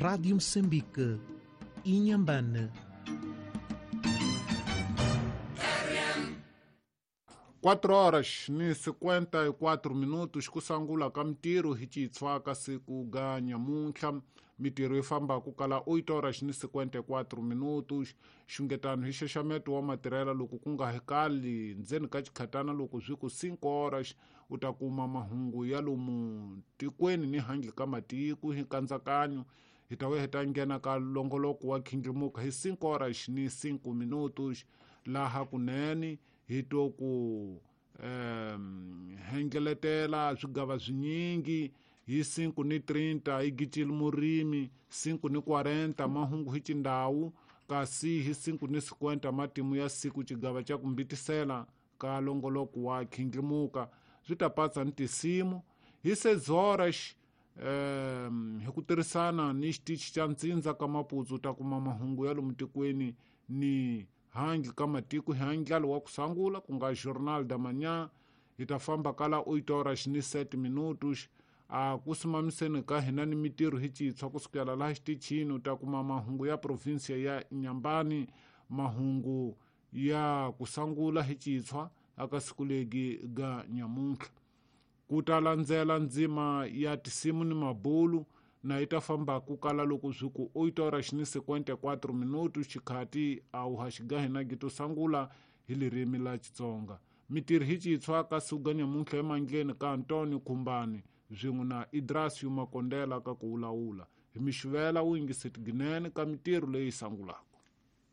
Rádio Moçambique, Inhambane. 4 horas ni 54 minutos kusangula ka mitirho hi xitshwa ka siku ga nyamuntlha. Mitirho yi famba ku kala 8 horas ni 54 minutos. Xungetano hi xaxameto wa matirhela loko ku nga hekali ndzeni ka xikhatana loko swi ku 5 horas u ta kuma mahungu ya lomu tikweni ni handle ka matiko hi nkatsakanyo. Hi ta vuya hi ta nghena ka longoloko wa khindlimuka hi 5 horas ni 5 minutos laha kunene hi to ku hengeletela swigava swinyingi hi 5:30 hi gicile murimi, 5:40 mahungu hi xindhawu, kasi hi 5:50 matimu ya siku xigava xa ku mbitisela ka longoloko wa khindlimuka. Swi ta patsa ni tinsimu hi 6 horas hi ku tirhisana ni xitichi xa ntsindza ka Maputsu ta kuma mahungu ya lomu tikweni ni handle ka matiko hi handlalo wa ku sangula ku nga Journal da Manhã. Hi ta famba kala 8 horas ni 7 minutos a ku simamiseni ka hina ni mitirho hi xitshwa kusukela laha xitichini u ta kuma mahungu ya provinsia ya Inhambane, mahungu ya ku sangula hi xitshwa aka siku legi ga nyamuntlha. Ku ta landzela ndzima ya tinsimu ni mabulu na yi ta famba ku kala loko swi ku 8 horas ni 54 minutos xikhati a wu haxiga hina gi to sangula hi ririmi la Xitsonga. Mitirho hi xitshwa ka siku ga nyamuntlha emandleni ka Antonio Khumbane swin'we na Idrasio Makondela ka ku wulawula. Hi mixivela wu yingiseti ginene ka mitirho leyi sangulaka.